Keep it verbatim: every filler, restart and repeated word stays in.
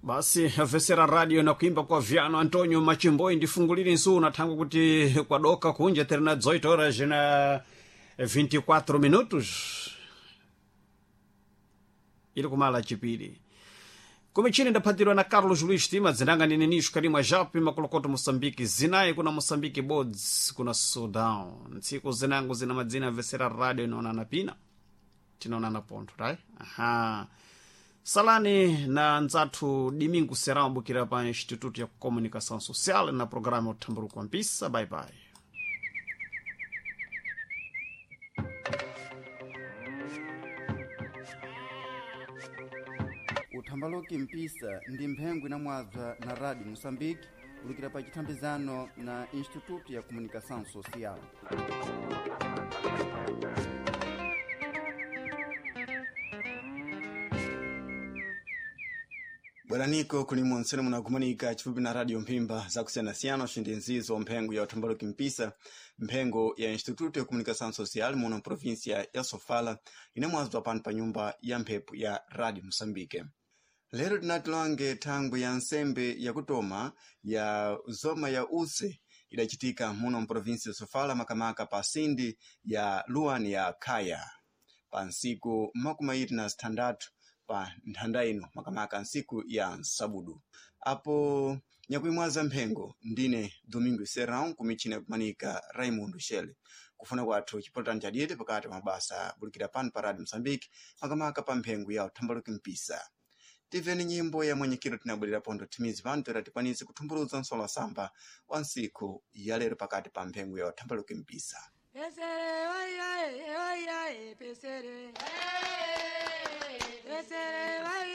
Basi avesera radio na kuimba kwa vyano Antonio Machimboi ndifungulire nsu nathangu kuti kwadoka kunja terina dezoito horas na vinte e quatro minutos ili kumala chipiri kumichini ndaphatirwa na Carlos Luis Tima dzinanga nene nisho kalimwa japi makolokoto Moçambique zinayi kuna Moçambique bods kuna Sudão ntsiku zinango zina madzina avesera radio inaonana pina tinaonana pontho right aha salani na nzathu Domingo Serão bukira pa Instituto ya Comunicação Social na programa Uthamburuko wa Mpisa. Bye bye. Uthambaluki mpisa ndi mphengo inamwabza na Rádio Moçambique ulukira pa chithambizano na Instituto ya Comunicação Social. Bweraniko kulimwe ntsene munakumanika chifupi na radio mphimba zakusiyanasiyana uxindi nzizo mphengo ya uthambaluki mpisa, mphengo ya Instituto ya Comunicação Social muno mprovinsia ya Sofala inamwazwa pano pa nyumba ya mphepo ya Radio Moçambique. Lero tinatilange thangwi ya nsembe yakutoma ya zoma ya use idacitika muno mprovinsia ya Sofala, makamaka pa sindi ya luwani ya Khaya pa nsiku makumi ayiri na zithandatu pa nthanda ino, makamaka nsiku ya nsabudu. Apo nyakuimwaza mphengo ndine Domingo Serrão, kumichina kumanika Raimundo Shele. Kufuna kwathu chipolotani chadiyete pakati pa mabasa bulikira pano pa Radio Moçambique, makamaka pa mphengo ya uthambaluki mpisa. Tiveni nyimbo ya mwenyekero tinabwerera pondo timizi pano toera tikwanise kuthumbuludza nsolo samba wa nsiku ya lero pakati pa mphengo ya uthambaluki mpisa. Pesere, oye, oye, oye, pesere. Pesere, oye.